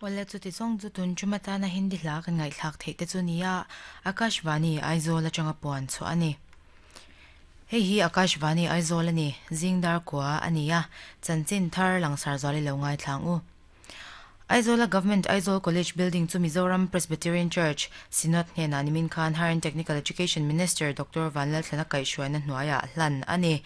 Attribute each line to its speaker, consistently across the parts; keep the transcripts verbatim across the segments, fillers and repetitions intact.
Speaker 1: Wala chu ti chong chu tun chuma ta na Hindi hla kan ngai thlak thei te chu nia Akashvani Aizawl atanga puan chu ani. Hei hi Akashvani Aizawl ani zingdar kwa ania chanchin thar langsar zawli lo ngai thlang u. Aizawl Government Aizawl College Building chu Mizoram Presbyterian Church Synod hnen animin khan Higher and Technical Education Minister Doctor Vanlalthlana Kaihhruaina hnuaia hlan ani.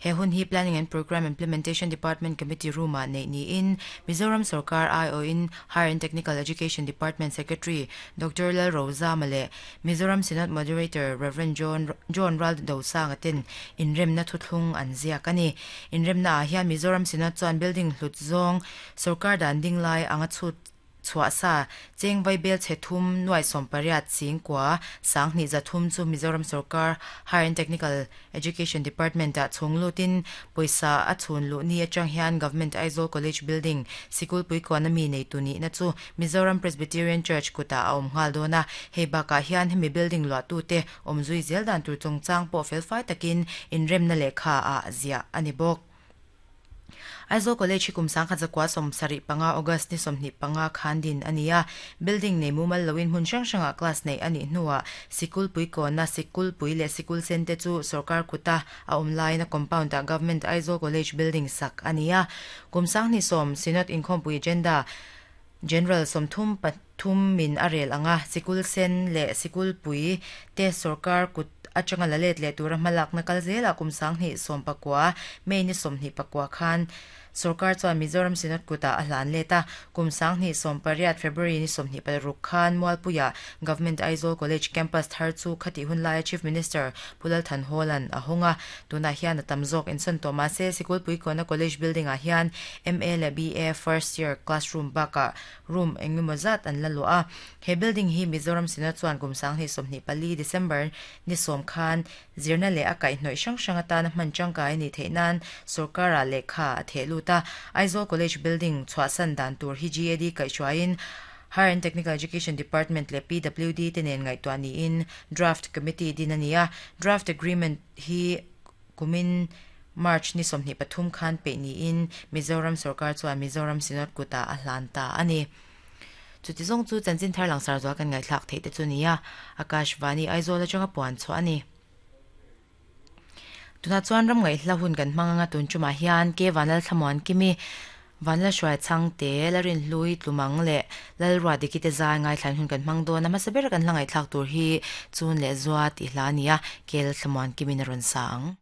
Speaker 1: He hun hi Planning and Program Implementation Department Committee Room a nei ni in Mizoram Sarkar I O in Higher and Technical Education Department Secretary Doctor Lal Roza Male Mizoram Synod Moderator Reverend John John Ral Dosang atin inremna thuthlung an ziak ani. Inremna ah hian Mizoram Synod chuan building hlut zawng Sarkar dan ding lai anga chhut chhuah sa cheng vai bel che thum nuai som pariat sing kwa sang ni za thum chu Mizoram Sarkar Higher and Technical Education Department a chunglutin poisa a chhun lu ni atang hian Government Aizawl College Building sikul pui economy nei tu ni na chu Mizoram Presbyterian Church kuta a awm nghal dona. Hei baka hian hemi building lua tu te awmzui zel dan tur chungchang pawh fel fai takin inremna lehkha a zia ani bawk. Aizawl College hi kum sangkhat zakwa som sarih panga August ni sawmhnih panga khan din ania. Building nei mumal loin hmun hrang hranga class nei ani hnuah sikul pui kawna sikul pui leh sikul sen te chu sarkar kuta a awm laina compound ah Government Aizawl College Building sak ania. Kum sanghnih sawm Synod inkhawmpui agenda General sawmthum pathum min a rel anga sikul sen leh sikul pui te sarkar kut atanga la let leh tura hmalak na kal zela kum sanghnih sawm pakua May ni sawmhnih pakua khan Sarkar chuan Mizoram Synod kuta a hlan leta kum sanghnih sawm pariat February ni sawmhnih paruk khan Mualpuia Government Aizawl College Campus thar chu khati hun laia Chief Minister Pulal Thanholan a honga. Tuna hian a tam zawk insawn tawh mahse sikul pui kawna college building ah hian M A leh B A first year classroom bakah room engemaw zat an la luah a. He building hi Mizoram Synod chuan kum sanghnih sawmhnih pali December ni sawm khan zirna leh a kaihhnawih hrang hrang atana hman tangkai ni theih nan sarkar ah lehkha a theh lut a. Aizawl College Building chhuahsan dan tur hi G A D kaihhruaiin Higher and Technical Education Department leh P W D te nen ngaihtuah niin Draft Committee din ania. Draft Agreement hi kumin March ni sawmhnih pathum khan pe niin Mizoram Sarkar chuan Mizoram Synod kuta a hlan ta ani. Chuti zawng chu chanchin thar langsar zual kan ngai thlak thei te chu nia Akashvani Aizawl atanga puan chu ani. Tuna chuan ram ngai hla hun kan hmanga tun chuma hian ke vanal thlamuan kimi vanla hruai chang te larin hlui tlumang leh lalrua dikite zai ngai thlan hun kan hmang dawn a hmasa ber kan hla ngai thlak tur hi chun leh zua tih hla ania kel thlamuan kimi na rawn sa ang.